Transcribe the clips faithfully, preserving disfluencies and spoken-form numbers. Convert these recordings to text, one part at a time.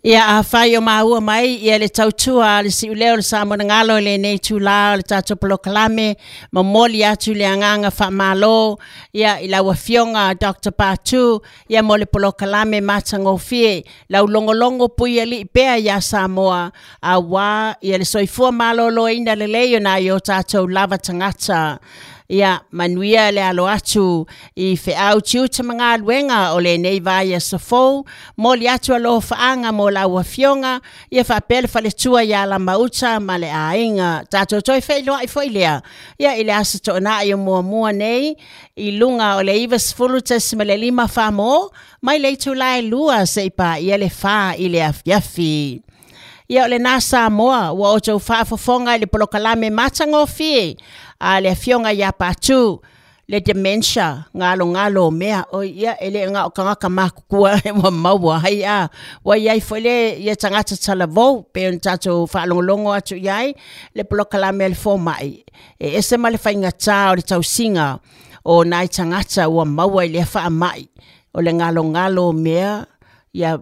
Ia afai o maua mai ia le tautua le siuleo le Samoa i lenei itulā o le tatou polokalame, momoli atu le agaga faamalo ia i lau Afioga Doctor Patu ia mo le polokalame matagofie lau logologo puialii pea iā Samoa auā ia le soifua malōlōina lelei o nai o tatou lava tagata. Ia manuia le alo atu i feau tiute ma galuega o lenei vaiaso fou, moli atu alofaaga mo lau afioga ia faapea le faletua iā Lamauta ma le aiga. Tatou toe feiloai foi lea ia i le aso Toonai o muamua nei i luga o le ivasefulu tesimale lima Samoa mai le itulā e lua seia paia le fa i le afiafi. Ia o lenā Samoa ua outou faafofoga i le polokalame matagofie a le afioga iā Patu, le dementia, galogalo o mea oi ia e le gao tagata matutua ua maua ai a ua iai foi le ia tagata talavou pei ona tatou faalogologo atu i ai le polokalame a le fomai e ese ma le faigatā o le tausiga o nai tagata ua maua i lea faamai o le galogalo o mea ia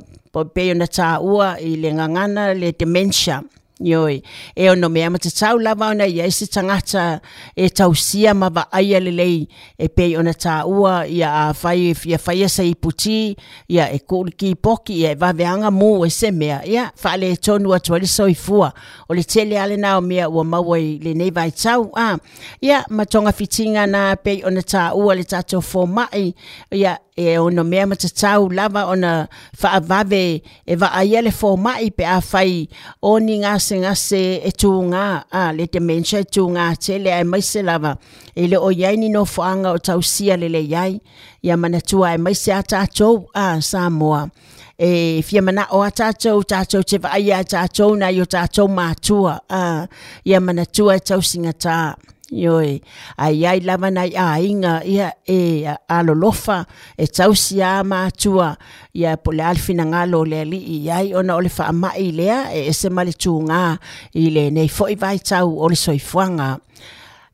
pei ona taua i le gagana le dementia. Ioe, e ono mea matatau lava ona iai se tagata e tausia ma vaaia lelei e pei ona taua ia afai e fia faia se iputi ia e tuu le kipoki ia e vaveaga mu e se mea ia faaletonu atu ai le soifua o le tele lava lenā o mea ua maua i lenei vaitau a ia ma togafitiga na pei ona taua le tatou fomai ia e ono mea matatau lava ona faavave e vaaia le fomai pe afai o ni gasegase e tugā a le dementia e tugā tele aemaise lava e le o iai ni nofoaga o tausia lelei ai ia manatua aemaise a tatou a Samoa e fia manao a tatou tatou te vaaia a tatou nai o tatou matua a ia manatua e tausigatā. Ioe, ae iai lava nai aiga ia e alolofa e tausi a matua ia po o le a le finagalo o le Alii i ai ona o le faamai lea e ese ma le tugā i lenei foi vaitau o le soifuaga.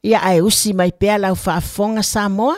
Ia ae usi mai pea lau faafofoga Samoa.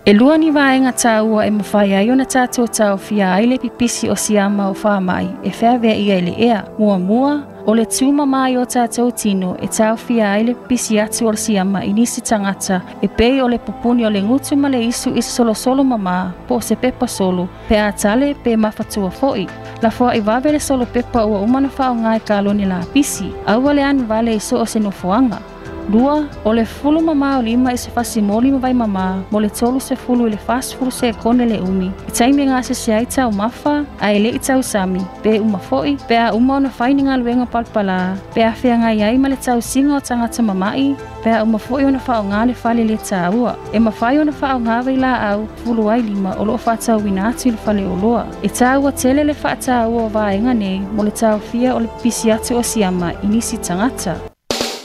E lua ni vaega taua e mafai ai ona tatou taofia ai le pipisi o siama o faamai e feaveaia i le ea. Muamua, o le tumama i o tatou tino e taofia ai le pipisi atu o le siama i nisi tagata e pei o le pupuni o le gutu ma le isu i se solosolo mamā po o se pepa solo, pe a tale pe mafatua foi. Lafoai vave le solo pepa ua uma ona faaaoga i kalone lapisi, aua le anu vale i so o se nofoaga. Lua, o le fulu mamā o lima i se fasimoli ma vai mamā mo le tolu sefulu i le fasefulu sekone le umi. I taimi e gasese ai taumafa, ae le'i tausami, pe uma foi, pe a uma ona fai ni galuega palapalā, pe a feagai ai ma le tausiga o tagata mama'i, pe a uma foi ona faaaogā le fale le tāua. E mafai ona faaaogā vailaau fulu ai lima o loo faatauina atu i le faleoloa. E tāua tele le faataua o vaega nei mo le taofia o le pipisi atu o siama i nisi tagata.